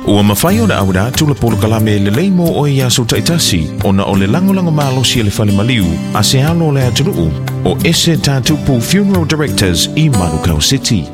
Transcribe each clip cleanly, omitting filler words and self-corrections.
Ua mafai ona auina atu le polokalame lelei mo oe i aso taitasi ona o le lagolago malosi a le fale maliu a se alo o le atunuu o Ese Tatupu Funeral Directors i Manukau City.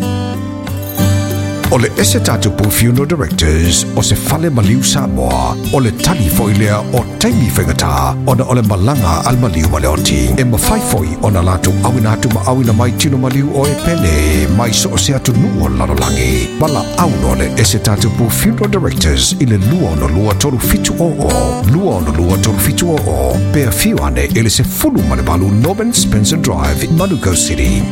O le Ese Tatupu Funeral Directors o se fale maliu Samoa, o le tali foi lea o taimi faigata ona o le malaga a le maliu ma le oti. E mafai foi ona latou auina atu ma auina mai tino maliu o e pele mai so o se atunuu o le lalolagi. Valaau loa le Ese Tatupu Funeral Directors i le 262 3700, 262 3700, pe afio ane i le 18 Norman Spencer Drive, Manukau City.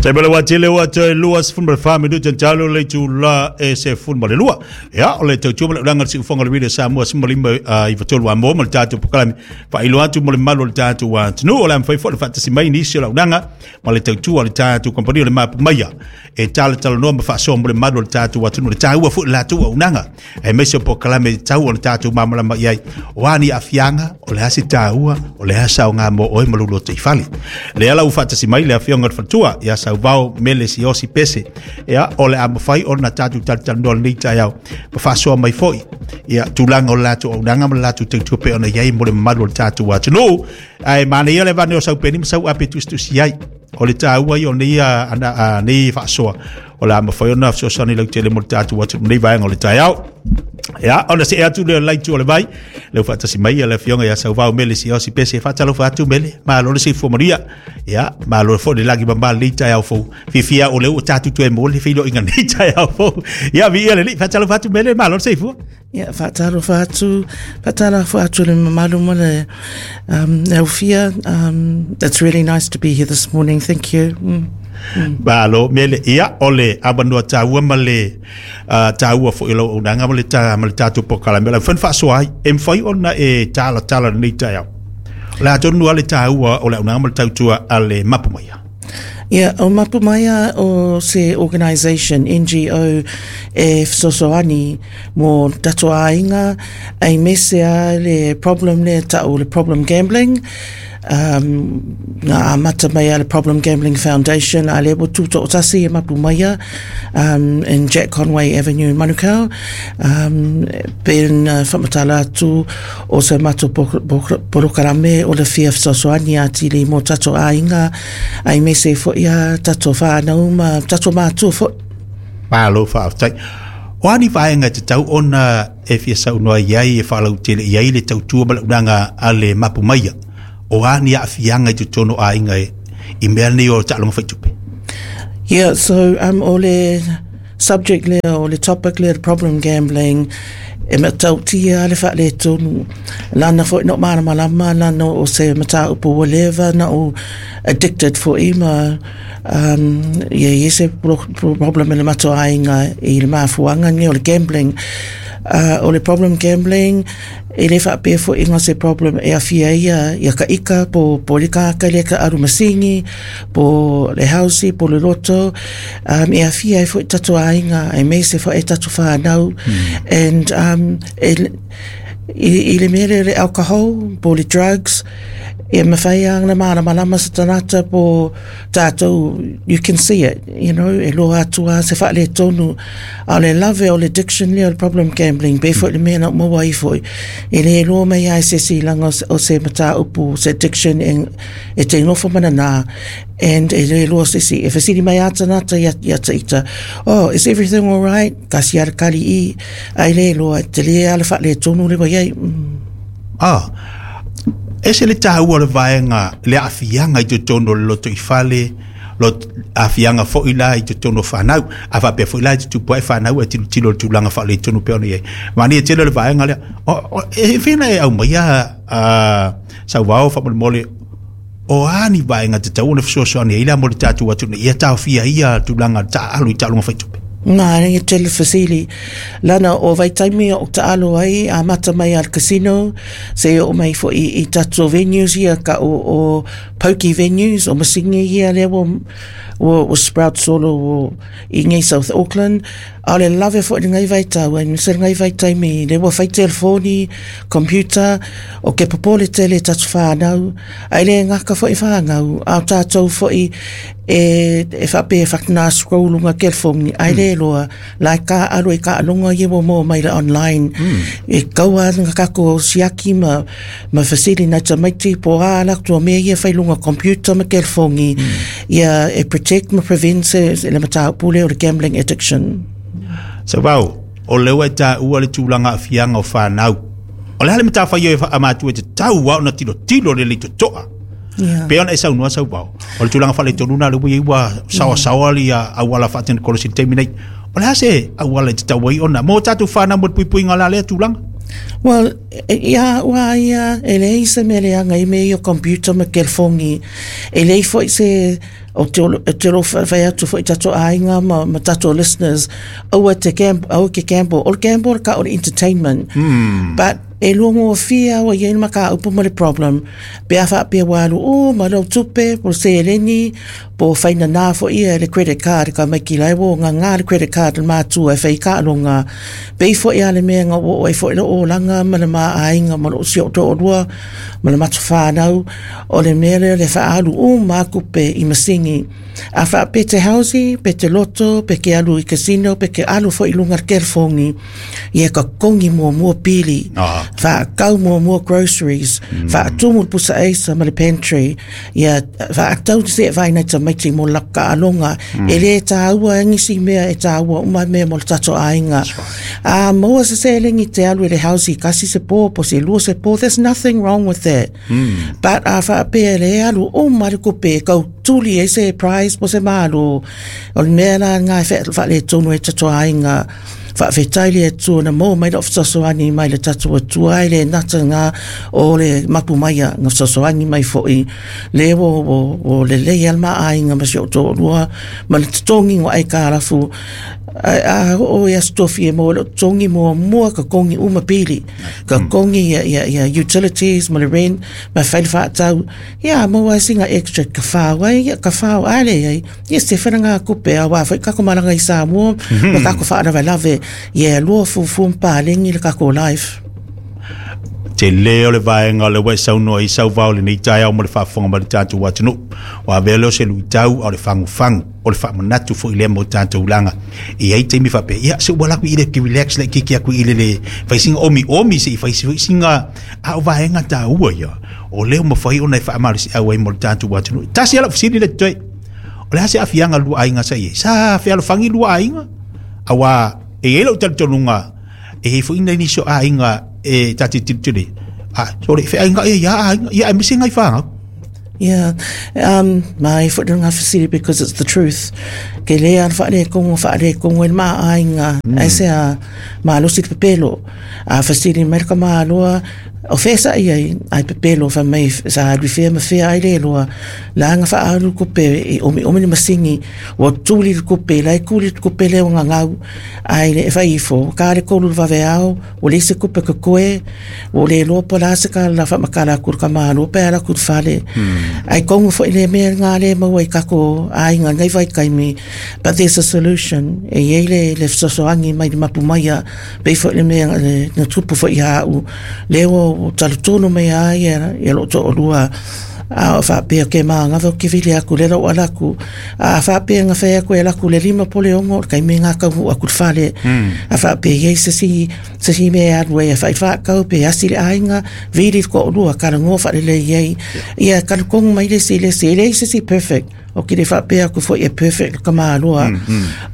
Taimale ua tele ua toe 24 minute talo le itula e 12. Ia, o le tautua ma le ulaga o le siufoga o le Radio Samoa 15 i 3 a mo ma le tatou polokalame faailoa atu mo le mamalu o le tatou atunuu. O le a mafai foi ona faatasi mai nisi o le auaunaga ma le tautua a le tatou kamupani o le Mapu Maia e talatalanoa ma faasoa mo le mamalu o le tatou atunuu. Le taua foi o le latou auaunaga aemaise o polokalame e tatau ona tatou malamalama i ai. O a ni aafiaga, o le a se taua, o le a se aoga mo oe ma lou lotoifale. Lea la ua faatasi mai le afioga i le faletua ia Sauvao Mele Siaosi Pese. Ia, o le a mafai ona tatou talatalanoa lenei taeao ma faasoa mai foi ia tulaga o le latou auaunaga ma le latou tautua pei ona i ai mo le mamalu o le tatou atunuu. Ae manaia le avane o sau peni ma sau ape tusitusi ai. O le taua ia o nei, nei faasoa o le a mafai ona fesoasoani lautele mo le tatou atunuu nei vaega o le taeao. Ia, ona see atu lea o le laitu o le vai, leu faatasi mai le afioga ia Sauvao Mele Siaosi Pese, faatalofa atu Mele, malo le soifua manuia. Ia, malo foi le lagi mama lenei taeao fou. Fiafia o lea ua tatou toe maua le feiloaiga lenei taeao fou. Ia, viia le Alii, faatalofa atu Mele, malo le soifua. Ia, faatalofa atu, faatalofa atu le mamalu ma le aufia. It's really nice to be here this morning. Thank you. Malo, Mele. Ia, o le avanoa taua ma le taua foi o lau auaunaga ma le, ta, ma le tatou polokalame. O le mafai ona faasoa ai, e mafai ona e talatala lenei taeao. O le a tonu lava le taua o le auaunaga ma le tautua a le Mapu Maia. Ia, o Mapu Maia o se organisation, NGO, e fesoasoani mo tatou aiga, aemaise lava le problem lea e tau o le problem gambling. Na amata mai a le Problem Gambling Foundation, a lea ua tutoatasi e Mapu Maia in Jack Conway Avenue in Manukau. Pei ona whamatala atu o se matou polokalame o le fia fesoasoani atili mo tatou aiga, aemaise foi a tatou whanau ma tatou mātua foi. Malo faafetai. O a ni vaega e tatau ona e fia saunoa i ai e faalautele i ai le tautua ma le auaunaga a le Mapu Maia? O a ni aafiaga i totonu o aiga e, i mea nei o taaloga faitupe? Yeah, so o le subject lea, o le topic lea, le problem gambling, e matautia le faaletonu. Lana foi na o malamalama, lana o se mataupu ua leva na o addicted foi ma ia i ai se problem i le matou aiga i le mafuaaga lenei o le gambling. O le problem gambling, e le faapea foi na o se problem e aafia ai ia ka ika po le tagata lea e taalu masini, po le house po le loto, e aafia ai foi tatou aiga aemaise foi tatou whanau. And i le mea lea o le alcohol po o le drugs, e mafai lava ona malamalama se tagata po tatou, you can see it, you know, e loa atu lava se faaletonu. A o le lave o le addiction lea o le problem gambling, pei foi le mea na ou maua ai foi, e le iloa mai lava e se isi leaga o se mataupu, se addiction e te nofo ma nana, and e le iloa se isi. E fesili mai lava tagata ia te ita, oh, is everything alright? Tasi lava le kali i, ae le iloa, e tele lava le faaletonu lea ua i ai. Ah, ese le taua o le vaega, le aafiaga i totonu o le lotoifale, lo aafiaga foi la i totonu o fanau, a faapea foi la e tutupu ai fanau e tilotilo i le tulaga faaletonu pei ona i ai. Manaia tele le vaega lea. E fia na e aumaia Sauvao faamolemole, o a ni vaega tatau ona fesoasoani ai la mo le tatou atunuu ia taofia ai ia tulaga taaalo i taaloga faitupe? Nā, e tele fesili. Lana o vaitaimi o taalo ai, amata mai a le casino, se oo mai foi i tatou venues ia ka o Pokie venues o masini ia lea ua ua ua sprout solo o i nei South Auckland. A o le lave foi lenei vaitau aemaise lenei vaitaimi lea ua fai telefoni, computer, o ke popole tele i tatou whānau, ae le gata foi whānau, a o tātou foi e, e whape e whakana scroll lunga telefoni, ae le loa, la e ka alo e ka alonga ia ua moa mai le online, e kaua nga kako siaki ma, ma fesili nai tamaiti po a ala tua mea ia whai lunga computer ma telefoni, ia e protect ma prevent se, se le mataupu lea o le gambling addiction. Sauvao, o lea ua e taua le tulaga aafiaga o fanau. O le a le matafaioi e faamatua e tatau lava ona tilotilo le lei totoa. Yeah. Pei ona e saunoa Sauvao, o le tulaga faaletonu lena lea ua i ai ua saoasaoa ia auala faatekonolosi i le taimi nei. O le a se auala e tatau ai ona mo tatou fanau mo le puipuiga o la lea tulaga? Well, ia au a ia, e leai se mea leaga i mea ia o computer ma telefoni. E leai foi se, o te olo, e te olo whai atu foi tatou aiga ma, ma tatou listeners, aua te gamble, aua ke gamble. O le gamble ka o le entertainment. But e lua ngofia au i ai makaupu ma le problem. Pe a whaapea ua alu o, ma lau tupe, po seleni, po whaina nā fo ia le credit card ka mai ki lai wo nga ngā le credit card le mātua e whai ka alonga. Pei foi a le mea nga o e foi le olanga ma le maa aiga ma lo si o to rua ma le matu whānau o le mea lea le whaalu o mākupe i masingi. A wha pe te hausi, pe te loto, pe ke alu i casino, pe ke alu foi lunga le telefoni. Ia ka kongi mua mua pili. Ah. Wha kau mua mua groceries. Wha tumu le pusa eisa ma le pantry. Ia wha tau te se vai nei tamaiti mo la ka alonga. E le tāua e ngisi mea e tāua uma mea mo le tato aiga. A maua se selengi te alu e le hausi kasi se pō, po se lua se pō. There's nothing wrong with that. But a whaapea le alu o mare kupe kau tuli e se prize po se malo. O le mea la ngā wha wha le tonu e tato aiga. Whaawhetai le atua na mō mai le fesoasoani mai le tatou atua ai le nata ngā o le mapu maia ngā fesoasoani mai foi le o, o, o le lei al ma aiga ma si o tōrua ma le totongi ngā ai kārafu a, a o ia stofi e mō le totongi mō mua ka kongi uma pili ka kongi ia, ia, ia utilities ma le rent ma whai le whaatau ia mō ai singa extra ka whāu ai ia ka whāu ale ai ia se whana ngā kupe a wā whai kako maranga i Samoa ma kako whaarawa lave ia lua fufu mpalengi le kako life. Te le o le vaega o le ua e saunoa i Sauvao lenei taeao mo le faafofoga mai le tatou atunuu. Ua avea lea o se luitau a o le fagufagu o le faamanatu foi lea mo tatou laga. E i ai taimi faapea, ia se ua laku i le ke relax le kiki aku i le le fai singa omi omi se i fai se singa a o vaega taua ia. O lea ua mafai ona e faamalosiau ai mo le tatou atunuu. Tasi ala fesili le totoe. O le a se aafiaga lua aiga sa i ai? Sa fealofagi lua aiga? Auā e i ai lou talitonuga e i ai foi nai nisi o aiga e ta te tilotilo i ai, a sole feaiga ia ia aiga, ia aemaise ngai fanau. Yeah, mai foi ngā fesili because it's the truth. Ke le ana whaare kongo, whaare kongo e mā aiga, ai se a malosi te pepelo. A fesili mai ka māloa, o whesa i ai, ai pepelo wha mai sa alu whea ma whea ai le loa. La nga wha alu kupe i omi omi ni masingi, wa tuli le kupe, lai kuli le kupe leo ngā ngau, ai le e whai ifo, ka le kolu le wawe ao, o le se kupe ka koe, o le loa po la se ka la wha makala kuru ka mālo, pe ala kuru whale. Ai kongo fo i le mea ngā le maua i kako ai ngā ngai vai kaimi, but there's a solution. E iei le, le fesoasoani mai le mapu maia, pe fo i le mea le, na tupu fo i hau, le o talu tonu mai a ia, ia lo to olua, a o whaapea ke mā ngawa ke vili aku le lau alaku a whaapea nga whai aku e laku le lima pole ongo kai me ngā kau aku le whale a whaapea iei se si se si mea alu e whai whaakau pe asi le aiga vili ko olua kara ngō whare le iei ia kara kongu mai le si le si le se si perfect o ki le whaapea aku foi e perfect ka māloa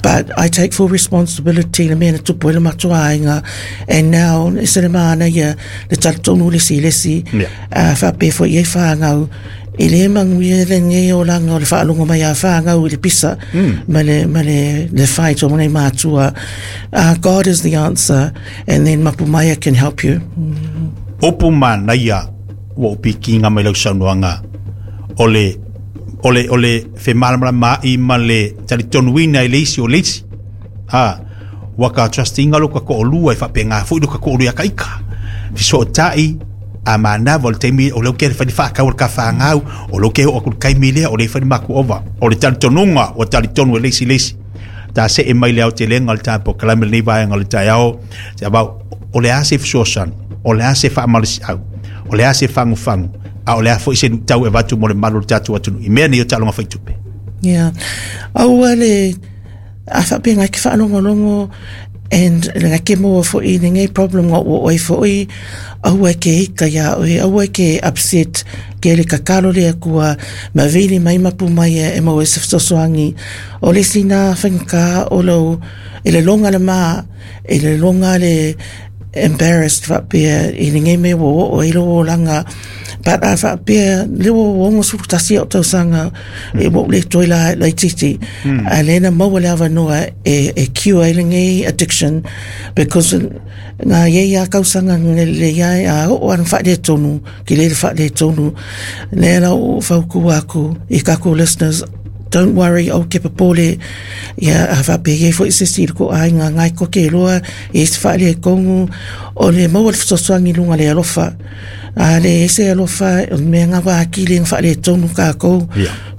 but I take full responsibility le mea na tupu e le matua aiga and now e se le māna ia le talu tonu le si le si Yeah. a whaapea foi iei whāngau e le manguia le ngei o langa o le whaalongo mai a whāngau i le pisa ma le, ma le, le fight o nei mātua. God is the answer and then Mapu Maia can help you. Upu manaia ua ou pikiga mai lau saunoaga o le o le o le femalamalamaai ma le talitonuina i le isi o le isi. A ua ka trust-iga lo ka toalua e faapena foi lo ka toalua ia ka ika. Fesootai A manava o le taimi o lea ua ke fai le faakau o le tafagau, o lea ua ke oo atu i le taimi lea o lea e fai le matou ova. O le talitonuga ua talitonu e le isi le isi. Ta see mai le aotelega o le ta polokalame i lenei vaega o le taeao, se avau, o le a se fesoasoani, o le a se faamalosiau, o le a se fagufagu, a o le a foi se luitau e avatu mo le malu o le tatou atunuu i mea nei o taaloga faitupe. Yeah. Aua le a faapea ngai ke whaalongolongo and ngai ke maua fo'i lenei problem nga ua oe fo'i aua e ke ika ia oe, aua e ke upset ke le kakalo le Atua ma vili mai mapu mai e maua e se fesoasoani. O le isi na whaingata o lou e le longa le ma e le longa le embarrassed faapea i lenei mea ua oo ai lou olaga but a faapea lea ua 61 ou tausaga e ua ou le toe la laitiiti a lea na maua le avanoa e, e cure ai lenei addiction because ngā iei a kausaga le iai a oo ana faaletonu ki le faaletonu lea la o faukua aku i kākou listeners, don't worry, au ke popole ia a faapea iai foi se isi i le ko aiga ngai koke loa i se faaletonu o le maua le fesoasoani i luga le alofa a le ese alofa o le mea ngā wākile ngā faaletonu kākou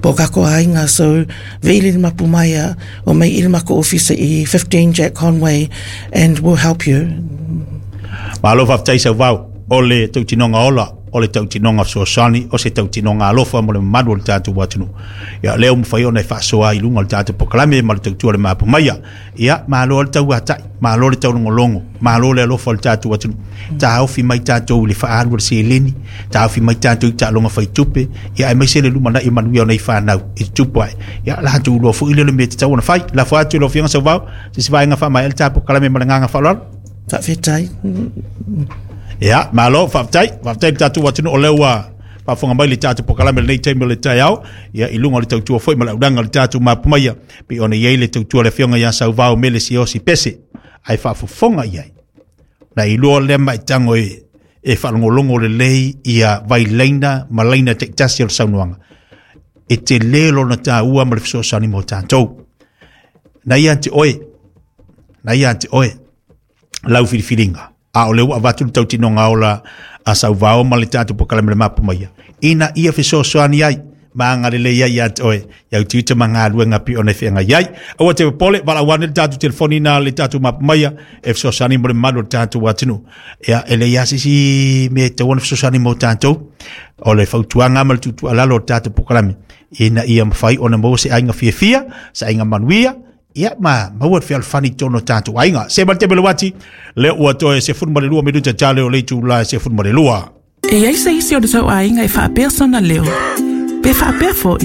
po kākou aiga. So vili le mapu mai a o mai i le mako ofisa i 15 Jack Conway and we'll help you. Malo faafetai Sauvao, o le tautinoga ola, o le tautinoga fesoasoani, o se tautinoga alofa mo le mamalu o le tatou atunuu. Ia, lea ua mafai ona e faasoa i luga o le tatou polokalame ma le tautua le mapu maia. Ia, malo le tauatai, malo le taulogologo, malo le alofa o le tatou atunuu. Taofi mai tatou i le faaalu o le seleni, taofi mai tatou i taaloga faitupe, ia aemaise le lumanai manuia o nei fanau i te tupu ae. Ia, latou iloa foi lea le mea e tatau ona fai. Lafo atu i lau Afioga Sauvao, se isi vaega faamaea le tatou polokalame ma le agaga faaaloalo. Faafetai. Ia, malo, faafetai. Faafetai le tatou atunuu o lea ua faafofoga mai le tatou polokalame i lenei taimi o le taeao. Ia, i luga o le tautua foi ma le auaunaga o le tatou mapumaia, pei ona i ai le tautua a le Afioga ia Sauvao Mele Siaosi Pese, ae faafofoga i ai. Na iloa lea maitago e faalogologo lelei ia vailaina ma laina taitasi o le saunoaga. E tele lona taua ma le fesoasoani mo tatou. Na ia te oe, na ia te oe lau filifiliga, a o lea ua avatu le tautinoga ola a Sauvao ma le tatou polokalame le mapu maia, ina ia fesoasoani ai ma agalelei ai ia te oe i au tiute ma galuega pei ona e feagai ai. Aua te popole, valaau ane le tatou telefoni na le tatou mapu maia e fesoasoani mo le mamalu o le tatou atunuu. Ia, e leai lava se isi mea e tatau ona fesoasoani mo tatou, o le fautuaga ma le tuutuualalo o le tatou polokalame, ina ia mafai ona maua se aiga fiafia, se aiga manuia, ia ma maua le fealofani i totonu o tatou aiga. Se ma le taimi o le uati, lea ua toe 12 minuta tale o le itula e 12. E i ai se isi o le tou aiga e faapea sona leo? Pe faapea foi?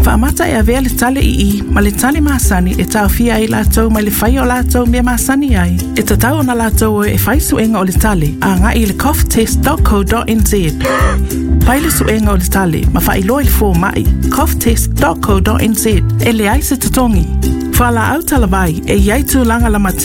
Faamata e avea le tale i i ma le tale masani e taofia ai latou mai le faia o latou mea masani ai. E tatau ona latou o e fai suega o le tale agai i le coughtest.co.nz. Fai le suega o le tale ma faailoa i le fomai coughtest.co.nz. E leai se totogi. Fualaau talavai e i ai tulaga lamatia.